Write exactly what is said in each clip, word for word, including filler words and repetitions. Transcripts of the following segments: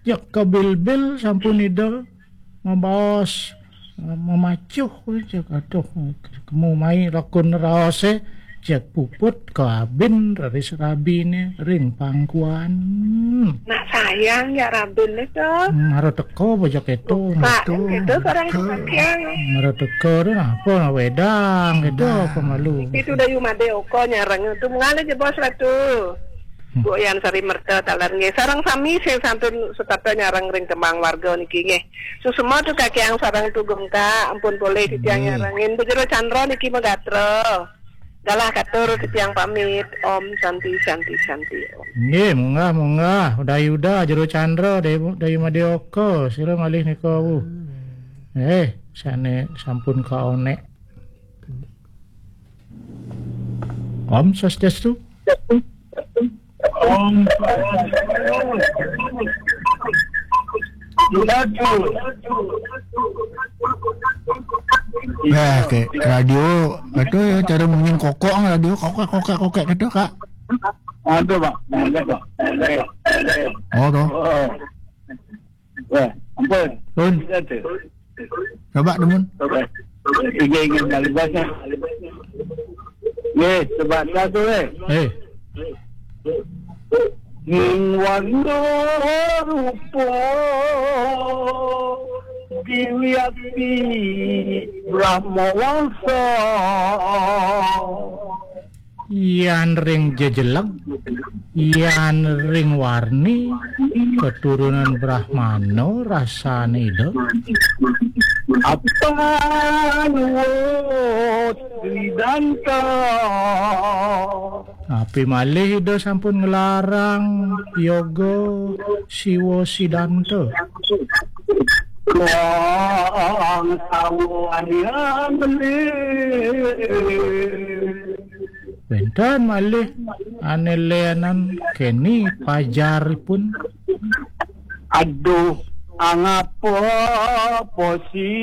Cek kebilbil sampun Ida mabaos, eh, mamacuh, cek, aduh, kemu mai lakun raose, cek puput kabin raris rabine ring pangkuan. Nak sayang ya rabin itu. Mara teka bocah keto, Pak, metu. Itu orang sebagian. Mara teka dah, apa nak wedang, gitu, apa malu. Itu Dayu Made Oko nyareng itu, mengalir je bos Ratu. Hmm. Bu Yan Sari Merta taler nggih. Sareng sami sing santun setata nyareng ring kembang warga niki nggih. Susuma tu kakiang sareng tugem ka, ampun polih titiang nyarengin. Bejero Chandra niki megatra. Galah katur titiang pamit. Om Santi, Santi, Santi, Om. Nggih, munggah, munggah. Udah Yuda, Jero Chandra, Dayu, Dayu Made Oko. Sira malih nika, Bu. Eh, sane sampun kaonek. Om Swastiastu. Om Swastiastu. Nah, kayak radio, betul ya, cara munyin kokok radio, kokek, kokek, kokek gitu, Kak. Ada, Pak. Ada, Pak. Oh, tuh. Oh. Wah, ampun. Pun. Ada. Coba, Demun. Tiga ingin kali banyak. Ye, coba satu, eh. Eh. Ning warna rupa diwiakti Brahma Wangsa. Yan ring jejeleg, yan ring warni, keturunan Brahmana rasane Ida. Apa nuwun Sidanta? Tapi malih Ida sampun nglarang yoga Siwa Sidanta. Wong sawanian beli. Wenten malih ane lenan keni pajaripun. Aduh, angapa posi.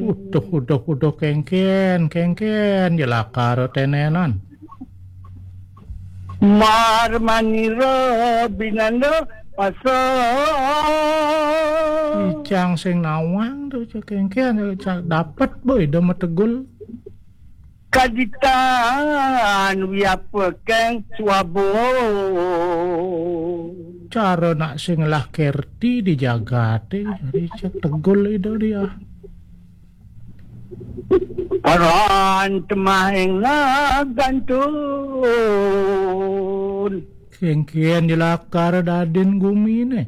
Uduh, uduh, uduh, kengken, kengken, jelakara tenenan. Marmanira binanda pasa. Icang sing nawang tu, cek kengken, cek dapet, boy, Ida mategul. Kaditan wiapekeng swabo. Cara nak sing lah kerti di jagate, hari cek tegul Ida dia. Paran temahing nagantun. Kengken jelakar dadin gumine.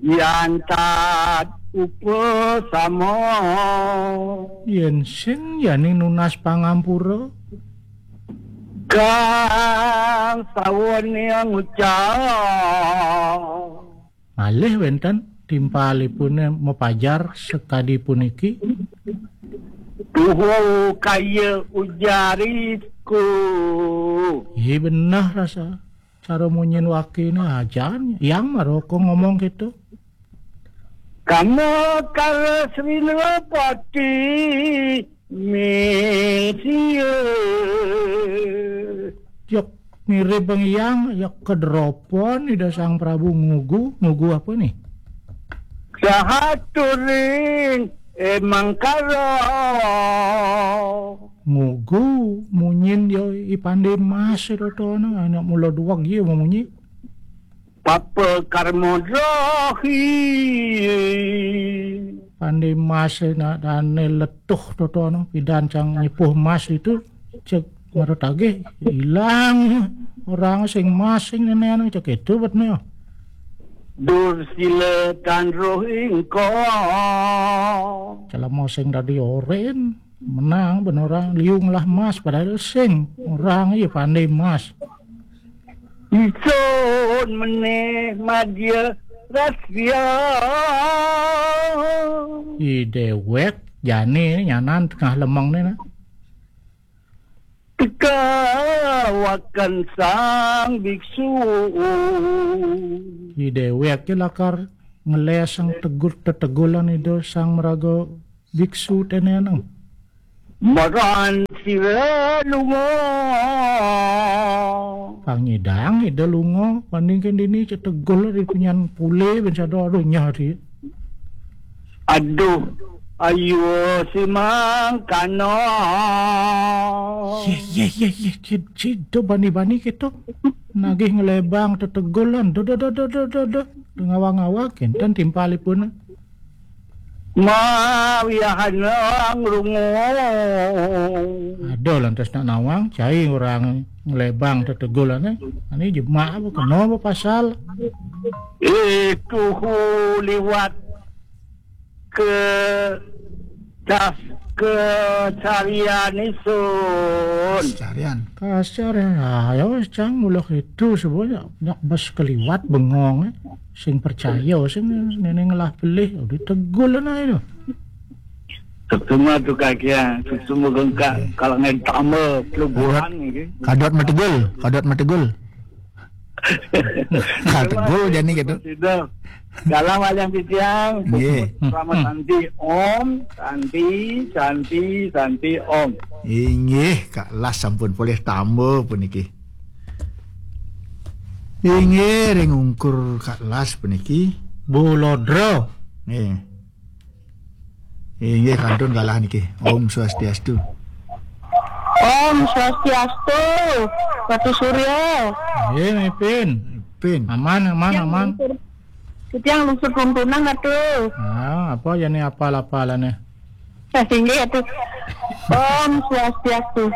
Yan tat upasama. Yen sing yaning nunas pangampura. Kang sawane ngucap. Malih wenten timpalipune mapajar sakadi puniki. Tuhu kaya ujarisku. Iya beneh rasa. Cara munyin wakine ajan, yang maroko ngomong gitu. Kama kala Sri Nalapati ming sia. Yok mirip bang yang, yok kedropon Ida Sang Prabu ngugu, ngugu apa nih? Sahaturing emang karo. Ngugu munyin yo ipande mas itu ana anak mula duwag ya munyi. Papa karma drohi. Pande mas na dane letuh totono pidan cang nyepuh mas itu cek marut agih ilang orang sing mas sing nenek cek itu betne. Dursila tan rohing ko. Celama sing dadi oren. Menang ben orang liung lah mas padahal sing orang iya pandai mas. Isun meneh madya rasya. I dewek jani nyanan tengah lemeng ni nah. Teka wakan sang biksu. I dewek je lakar ngelesang tegul tetegulan Ida Sang Meraga biksu teneneng. Maran sira lunga. Pang nyidang ida lunga, bandingke dini cetegul di punyan pule ben sada, aduh, nyah di. Aduh, ayo si mangkana. Yeh, yeh, yeh, yeh, cid-, cida bani-bani keto. Nagih nglebang tetegulan. Do, do, do, do, do, do, do. Ngawang-ngawang kenten timpalipun. Mawiahan ngrungu. Ada lantas nak nawang, cai orang nglebang tetegulane. Ani jemak apa, kena apa pasal? Itu liwat ke das ke carian isun. Carian. Kasar ya, ya wis, cang, mula itu sebenarnya nak bas keliwat bengong, eh. Sing percaya, sing nene ngelah pelih, udah tegul lah itu. Ketemu tu kaki ya, ketemu gengkak, kalau ngen tambah, pelubuhan ni. Kadot mategul, kadot mategul. Kadot tegul jani gitu. Sudah. Dalam wayang titiang, nggih. Selamat Santi, Om, Santi, Santi, Santi, Om. Inggih, Kak Las sampun polih tamba puniki. Inggih, ring ungkur Kak Las puniki. Bu Lodra. Nggih. Inggih, kantun kalah niki. Om Swastiastu. Om Swastiastu, Ratu Surya. Nggih, Mipin. Pin. Aman, aman, aman. Titiang lungsur tuntunan, Ratu. Ah, apa ya ni apal-apalane? Nah, sehingga ya tuh. Om Swastiastu.